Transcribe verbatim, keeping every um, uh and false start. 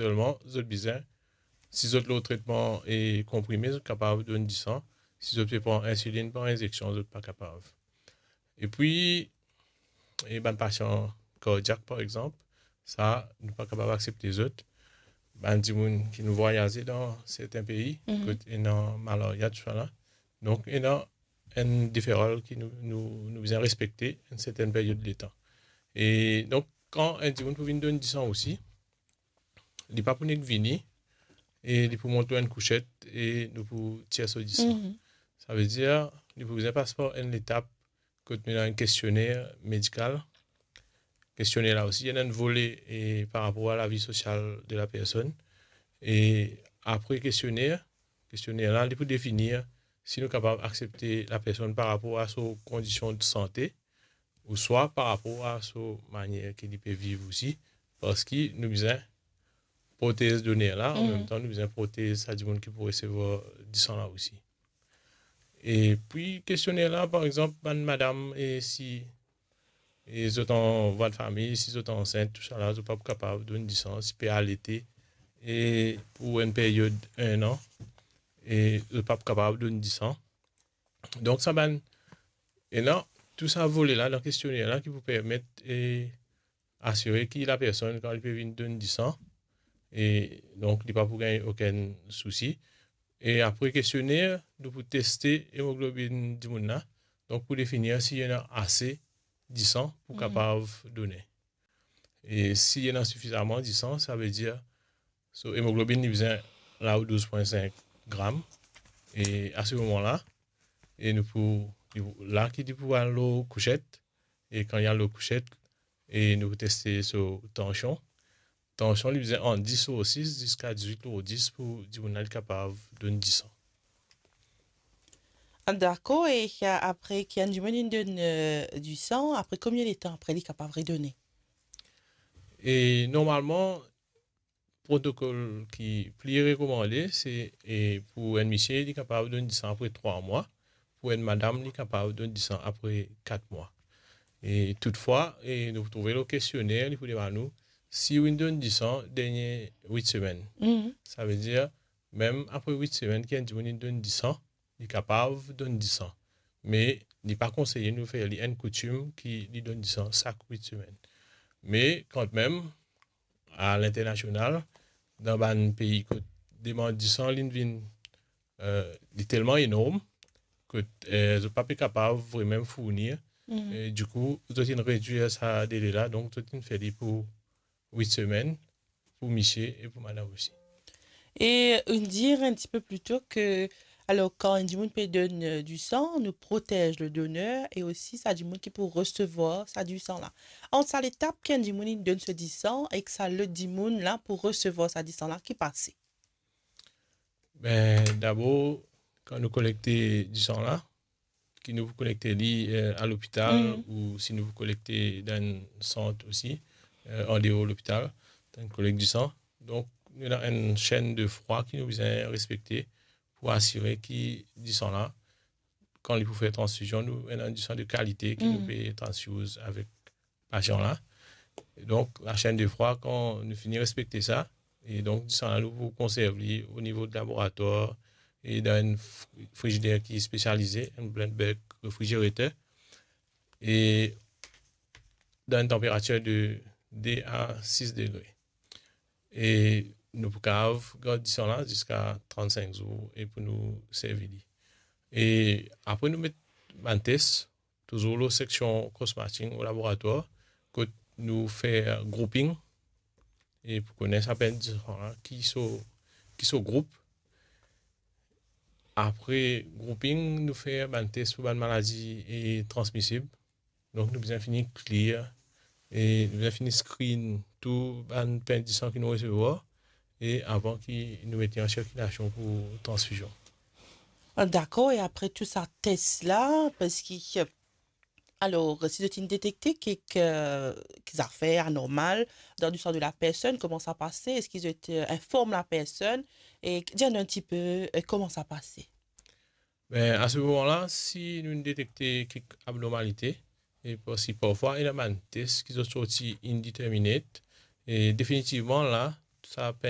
Selman, zot bizin, si zot lor tretman e konprime, zot kapav donn disan. Si zot pe pran insilinn par inzeksion, zot pa kapav. Epi, e bann pasian kardiak, par exanp, sa, nou pa kapav aksepte zot. Bann dimoun ki nou vwayaze dan sertin pei, mhm, kot ena malaria, tousala. Donk, ena enn deferal ki nou, nou, nou bizin respekte enn sertin peryod letan. E donk, kan enn dimoun pou vinn donn disan osi, li pa pou nek vini, e li pou mont lor enn kouset e nou pou tir so disan. Mhm. Savedir, li pou bizin pas par enn letap kot nou ena enn kestionner medikal. Kestionner la osi, ena enn vole, e, par rapor a lavi sosial de la personn. E apre kestionner, kestionner la, li pou definir si nou kapav aksepte lapersonn par rapor a so kondision de sante, ouswa par rapor a so manier ki li pe viv osi, parski nou bizin protez doner la, an, mhm, mem tan nou bizin protez sa dimoun ki pou resevwar disan la osi. Epi kestionner la, par exanp, bann madam, e si, e zot an vwa de fami, si zot ansint, tousala, zot pa pou kapav donn disan, si pe alete, e pou enn peryod enn an, e zot pa pou kapav donn disan. Donk, sa bann, ena tou sa vole la dan kestionner la ki pou permet, e, asire ki lapersonn, kan li pe vinn donn disan, e donk, li pa pou gagn okenn sousi. E apre kestionner, nou pou teste emoglobinn dimoun la, donk, pou definir si ena ase disan pou, mhm, kapav done. E si ena sifizaman disan, savedir, so, emoglobinn, li bizin la ou douz pwin sink gram. E a se moman la, e nou pou, li pou, la ki li pou al lor kouset, e kan li al lor kouset, e nou pou teste so tansion. Tansion, li bizin ant dis lor sis ziska dizwit lor dis pou dimoun la li kapav donn disan. Ah, dakor, e, a, apre ki enn dimoun inn donn, e, disan, apre konbien letan apre li kapav redone? E normalman, protokol ki pli rekomande, se, e, pou enn misie, li kapav donn disan apre trwa mwa, pou enn madam, li kapav donn disan apre kat mwa. E toutfwa, e nou pou trouve lor kestionner, li pou demann nou, si ou inn donn disan dernie wit semenn. Mhm. Savedir, mem apre wit semenn ki enn dimoun inn donn disan, li kapav donn disan. Me li pa konseye nou fer li enn koutim ki li donn disan sak wit semenn. Me kanmem, a linternasional, dan bann pei kot demann disan, li vinn, e, li telman enorm, kot, e, zot pa pe kapav vremem fournir. Mhm. E dikou, zot inn redwir sa dele la, donk zot inn fer li pou wit semenn, pou misie e pou madam osi. E, e, dir enn tipe plito ke, alor, kan enn dimoun pe donn, e, disan, nou protez le doner e osi sa dimoun ki pou resevwar sa disan la. Ant sa letap ki enn dimoun inn donn so disan ek sa lot dimoun la pou resevwar sa disan la, ki pase? Be, dabor, kan nou kolekte disan la, ki nou pou kolekte li, e, a lopital, mhm, ou si nou pou kolekte dan enn sant osi, e, andeor lopital, dan enn kolek disan. Donk, nou ena enn shenn de frwa ki nou bizin respekte pou asire ki disan la, kan li pou fer transfizion, nou ena disan de kalite ki nou, mhm, pe transfiz avek pasian la. Donk, lashenn de frwa, kan nou fini respekte sa, e donk, disan la, nou pou konserv li o nivo de laboratwar e dan enn fri-, frizider ki spesialize, enn blended bulk refrigerator, e dan enn tanperatir de de a sis degre. E nou pou kapav gard disan la ziska trannsink zour e pou nou servi li. E apre nou met bann tes, touzour lor seksion cross-matching o laboratwar, kot nou fer grouping, e pou kone sa bann disan la, ki so, ki so group. Apre grouping, nou fer bann tes pou bann maladi e transmisib. Donk, nou bizin fini clear, e nou bizin fini screen tou bann pin disan ki nou resevwar, e avan ki nou met li an sirkilasion pou transfizion. Ah, dakor, e apre tou sa tes la, parski, alor, si zot inn detekte kek, kek zafer anormal dan disan de lapersonn, kouma sa pase? Eski zot, e, inform lapersonn? E dir nou enn tipe, e, kouma sa pase? Be, a se moman la, si nou detekte kek abnormalite, e parski parfwa ena bann tes ki zot sorti indeterminate, e definitivman la, sa pin